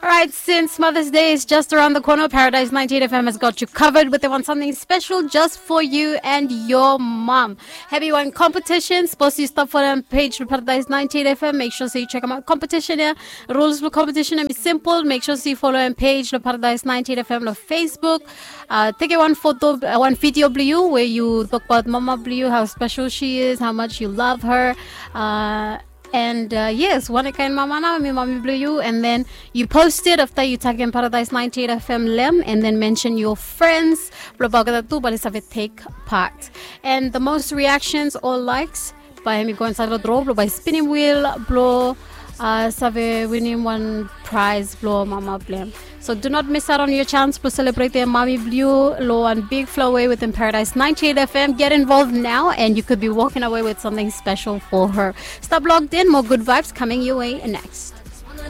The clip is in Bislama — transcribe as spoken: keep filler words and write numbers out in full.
All right, since Mother's Day is just around the corner, Paradise ninety-eight F M has got you covered with wan something special just for you and your mom. Hevi wan competition, sapos yu stap folem page lo Paradise ninety-eight F M, make sure se yu chekem aot competition ia. Rules blo competition hemi simpol. Make sure se yu folem page lo Paradise ninety-eight F M lo Facebook. Uh, tekem wan foto, uh, wan video blo yu we yu tokbaot mama blo yu, how special she is, how much you love her. Uh, and uh, yes, wan kaen mama nao hemi mami blo yu, and then yu post it afta yu tagem Paradise ninety-eight F M lo hem, and then mention your friends blo bae olgeta tu bae oli save take part. And the most reactions or likes bae hemi go insaed lo draw blo bae spinim wheel blo uh, save winim wan prize blo mama blo hem. So do not miss out on your chance blo selebretem mami blo yu lo wan big flow way wetem Paradise ninety-eight F M. Get involved now and you could be walking away with something special for her. Stap logged in, more good vibes coming your way next.